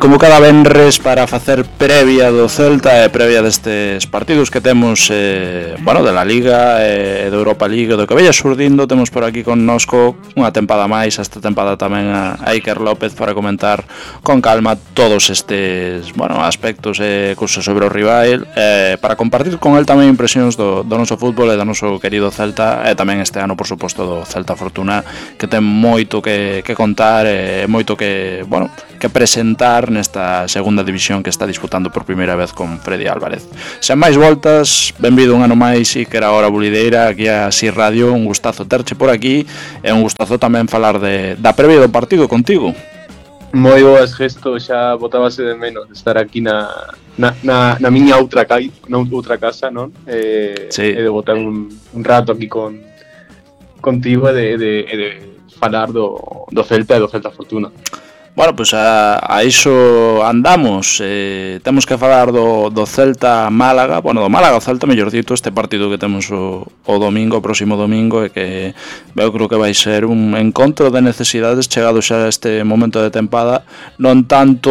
Como cada venres para facer previa do Celta e previa destes partidos que temos de la Liga e da Europa League, do que veia surdindo, temos por aquí connosco unha tempada máis, esta tempada tamén a Iker López para comentar con calma todos estes aspectos e cousas sobre o rival, para compartir con el tamén impresións do noso fútbol e do noso querido Celta, e tamén este ano por suposto do Celta Fortuna, que ten moito que contar e moito que presentar nesta segunda división que está disputando por primeira vez con Freddy Álvarez. Sen máis voltas, benvido un ano máis Iker a Hora Bulideira aquí a Si Radio, un gustazo terche por aquí e un gustazo tamén falar da previa do partido contigo. Moi boas, Gesto, xa botábase de menos de estar aquí na miña outra casa, non? Sí. E de botar un rato aquí contigo e de falar do Celta e do Celta Fortuna. Pois a iso andamos. Temos que falar do Celta Málaga, do Málaga Celta, mellor dito, este partido que temos o próximo domingo, e que eu creo que vai ser un encontro de necesidades chegado xa a este momento de tempada, non tanto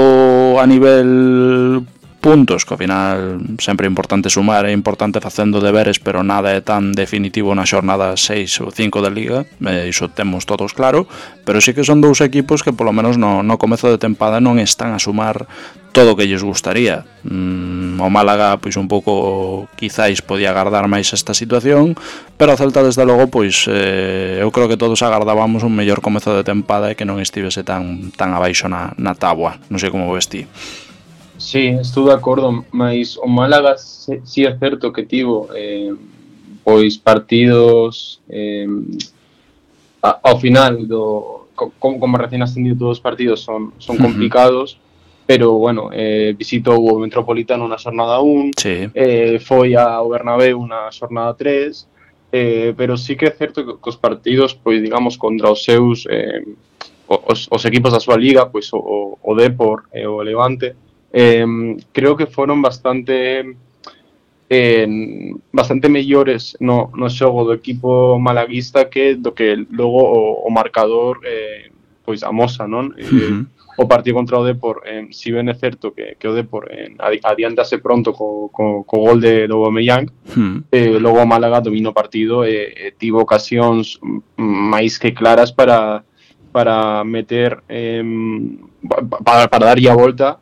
a nivel puntos, que ao final sempre é importante sumar, é importante facendo deberes, pero nada é tan definitivo na xornada 6 ou 5 da Liga, iso temos todos claro, pero sí que son dous equipos que polo menos no comezo de tempada non están a sumar todo o que lles gustaría. O Málaga pois un pouco quizáis podía agardar máis esta situación, pero o Celta desde logo pois eu creo que todos agardábamos un mellor comezo de tempada e que non estivese tan abaixo na táboa. Non sei como ves ti. Sí, estou de acordo, mas o Málaga si é certo que tivo pois partidos ao final como recién ascendido, todos os partidos son complicados, pero visitou o Metropolitano na xornada 1, sí. Foi ao Bernabéu na xornada 3, pero sí que é certo que os partidos, pois digamos, contra os seus os equipos da súa liga, pois o Depor e o Levante, creo que foron bastante mellores no xogo do equipo malaguista que do que logo o marcador pois amosa, non? O partido contra o Depor, si ben é certo que o Depor adiantase pronto co gol de Aubameyang, logo o Málaga dominou o partido e tivo ocasións máis que claras para meter para darlle a volta,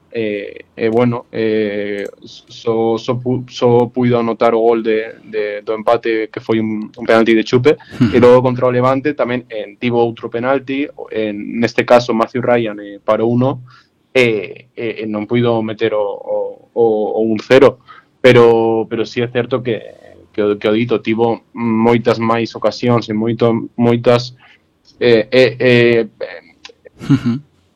só puido anotar o gol do empate, que foi un penalti de Chupe, e logo contra o Levante tamén tivo outro penalti, neste caso Matthew Ryan parou uno e non puido meter o 1-0, pero si é certo que o dito tivo moitas máis ocasións e moitas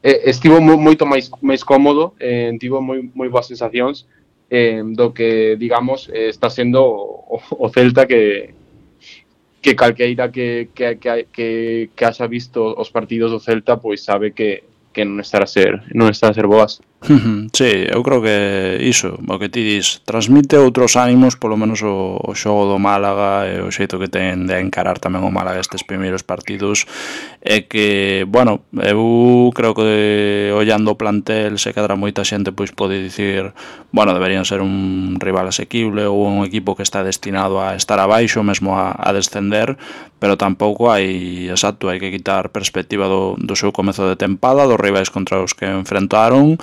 estivo moito máis cómodo, tivo moi boas sensacións do que, digamos, está sendo o Celta que calqueira que haxa visto os partidos do Celta pois sabe que non está a ser boas. Sí, eu creo que iso, o que ti dis, transmite outros ánimos, polo menos o xogo do Málaga e o xeito que ten de encarar tamén o Málaga estes primeiros partidos, e que, eu creo que ollando o plantel se cadra moita xente pois pode dicir, deberían ser un rival asequible ou un equipo que está destinado a estar abaixo, mesmo a descender, pero tampouco hai que quitar perspectiva do seu comezo de tempada, dos rivais contra os que enfrentaron,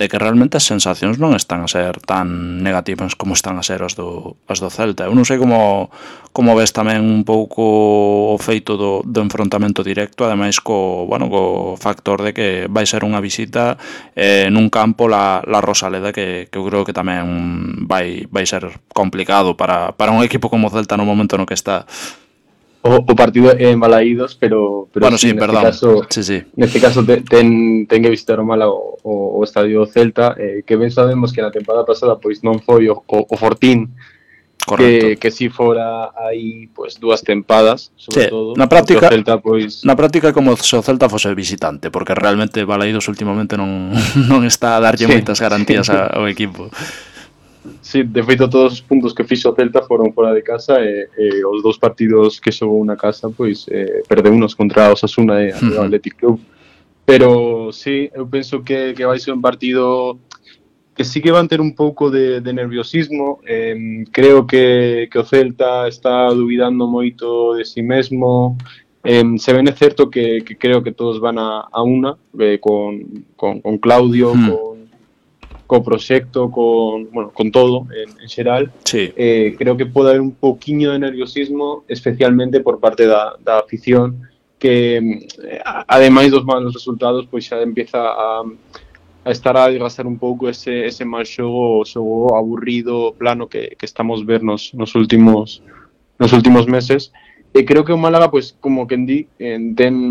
de que realmente as sensacións non están a ser tan negativas como están a ser as do Celta. Eu non sei como ves tamén un pouco o feito do enfrontamento directo, ademais co factor de que vai ser unha visita nun campo la Rosaleda, que eu creo que tamén vai ser complicado para un equipo como o Celta no momento no que está. O partido é en Balaídos, pero sí, perdón. Neste caso ten que visitar o Málaga o estadio Celta, que ben sabemos que na temporada pasada pois non foi o Fortín, que si fora aí pois dúas tempadas, sobre todo. Na práctica como se o Celta fose visitante, porque realmente Balaídos últimamente non está a darlle moitas garantías ao equipo. Sí, de feito todos os puntos que fixo o Celta foron fora de casa, e os dous partidos que xogou na casa pois perdeu unos contra o Osasuna e o Athletic Club. pero sí, eu penso que vai ser un partido que sí que van ter un pouco de nerviosismo. Creo que o Celta está duvidando moito de si mesmo. Se ben é certo que creo que todos van a una, con Claudio, co proxecto, con todo en xeral. Sí. Creo que pode haber un pouquiño de nerviosismo, especialmente por parte da afición, que ademais dos malos resultados, pois xa empieza a estar a desgastar un pouco ese mal xogo aburrido, plano que estamos ver nos últimos meses. E creo que o Málaga, pois, como quen di, ten